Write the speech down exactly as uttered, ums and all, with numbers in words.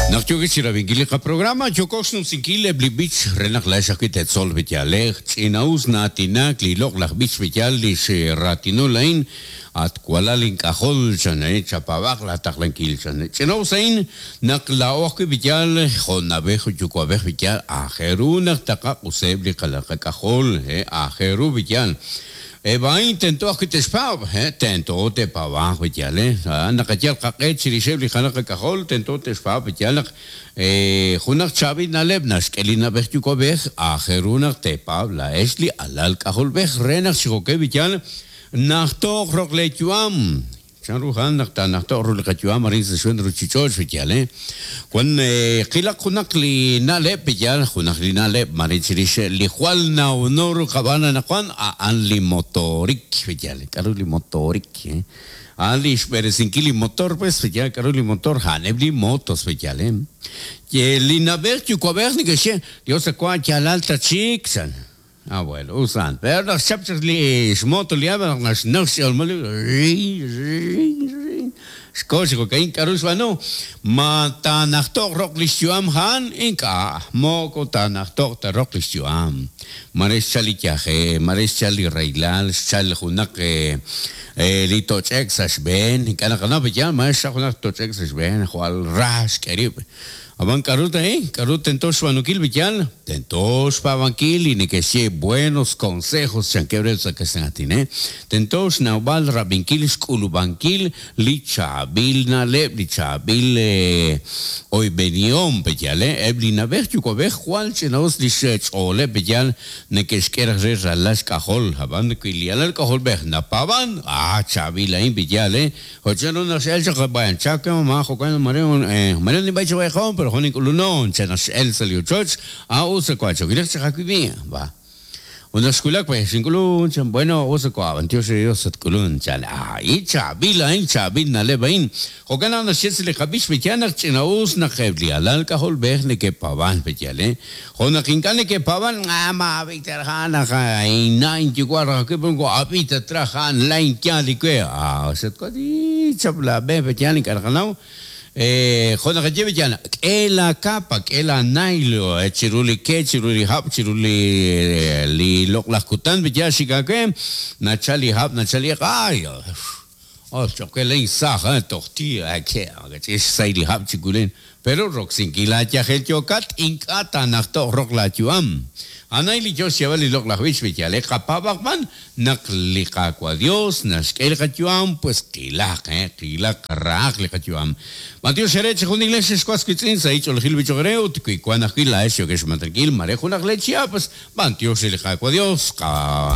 Naq yookeb' chirab'inkil li qaprograma, yooko xnumsinkil eb' li b'ich re naq laa'ex ajwi' teetzol b'iyalej. Ch'ina'us na'aatinak li loq'laj b'ich b'iyal li xraatinul a'in, at walal ink'ajol chan, eh, chapaab'aq laataqlankil chan. Ch'ina'us a'in naq laa'o ajwi' b'iyal jo' na'b'ej yuwa'b'ej b'iyal aajel ru naq taqaq'useb' li qalal qak'ajol, eh, aajel ru b'iyal. Eb' a'in tento ajwi' te'xpaab', eh, tento te'paab'anq b'iyal, eh, naqayal qaq'e chirixeb' li qalal qak'ajol, tento te'xpaab' b'iyal naq eh, junaq chaab'il na'leb' naxk'e li na'b'ej yuwa'b'ej, aajel ru naq te'paab' laa'ex li alal k'ajolb'ej re naq xikokeb' b'iyal najtoq roq leeyu'am. Chanru jan naq taanajtoq ru li qayu'am arin sa' xb'een ruuchich'och' b'iyal, eh. Wan qilaq junaq li na'leb' b'iyal, junaq li na'leb' mare chirix li jwal nawno ru qab'aan anaqwan a'an li motorik b'iyal. K'aru li motorik, eh? A'an li xb'eresinkil li motor pues b'iyal, k'aru li motor a'aneb' li motos b'iyal, eh. Ye li na'b'ej yuwa'b'ej neke'xye, Dios akwa yalal ta chik chan. Ah, bueno, usan. Pero naq xchap chaq li xmoto li aba naq naxnaq x'olmol xko xikokain k'aru xb'aanu ma taanajtoq roq li xyu'am a'an ink'a' moko taanajtoq ta roq li xyu'am. Mare xchal li yaje, mare xchal li raylal, xchal junaq eh, eh, li toch'ek sa' xb'een, ink'a' naqanaw b'iyal, mare xchal junaq toch'ek sa' xb'een, jwal ra xk'e rib'. Ab'an k'aru ta, eh? K'aru tento xb'aanunkil b'iyal? Tento xpaab'ankil li neke'xye buenos consejos chankeb' re sa' kaxlan, eh? Tento xnawb'al rab'inkil xk'ulub'ankil li chaab'il na'leb', li chaab'il eh, oyb'enihom b'iyal, eh? Eb' li na'b'ej yuwa'b'ej jwal ch'ina'us li xch'ooleb' b'iyal neke'xk'e raj re ralal xk'ajol, ab'an wi li alal k'ajolb'ej napaab'an, ah, chaab'il a'in b'iyal, eh? Jo' chanru naq x'el chaq b'ayan chak mamá jo'kan mare eh, mare nib'ay chawayjom pero jun ink'ulunon chan naq x'el sa' li ochoch, ah, usa kwa chokilej chaq ajwi' va. Una xkulak pues xink'ulun chan bueno usa kwa Dios Dios at k'ulun chan ah, i chaab'il a'in chaab'il na'leb' a'in. Jo'kan naq naxye li qab'ich b'iyal naq ch'ina'us naq eb' li alal k'ajolb'ej neke'paab'an b'iyal, eh. Jo' naq ink'a' neke'paab'an, ah, ma Victor jan naq ina inyuwa' raj ajwi' ab'ita traj jan lain yaal li we. Ah, xatkwa di chap la b'e b'iyal ink'a' naqanaw. Eh, jo' naqaye b'iyal, k'e la capa, k'e la nailo, eh, chiru li ke, chiru li hab', chiru li li loq'laj kutan b'iyal xikake, nachal li hab', nachal li ay, oh, choke lein saj, eh, toqti, eh, ke, ch'ix say li hab' chikulen. Pero roksinkil la yajel yokat, ink'a' taanajtoq roq la yu'am. Anay li Dios xyeb'al li loq'laj b'ich b'iyal, eh, qapaab'aqb'an naq li Qaawa' Dios naxk'e li qayu'am, pues qilaq, eh, qilaq raaq li qayu'am. Matiox xere chi jun iglesia xwas witz'in sa' ich'oolejil b'ich'oqre ut wi wan ajwi' laa'ex yokex xmantankil mare junaq le Chiapas, b'antiox li Qaawa' Dios, qa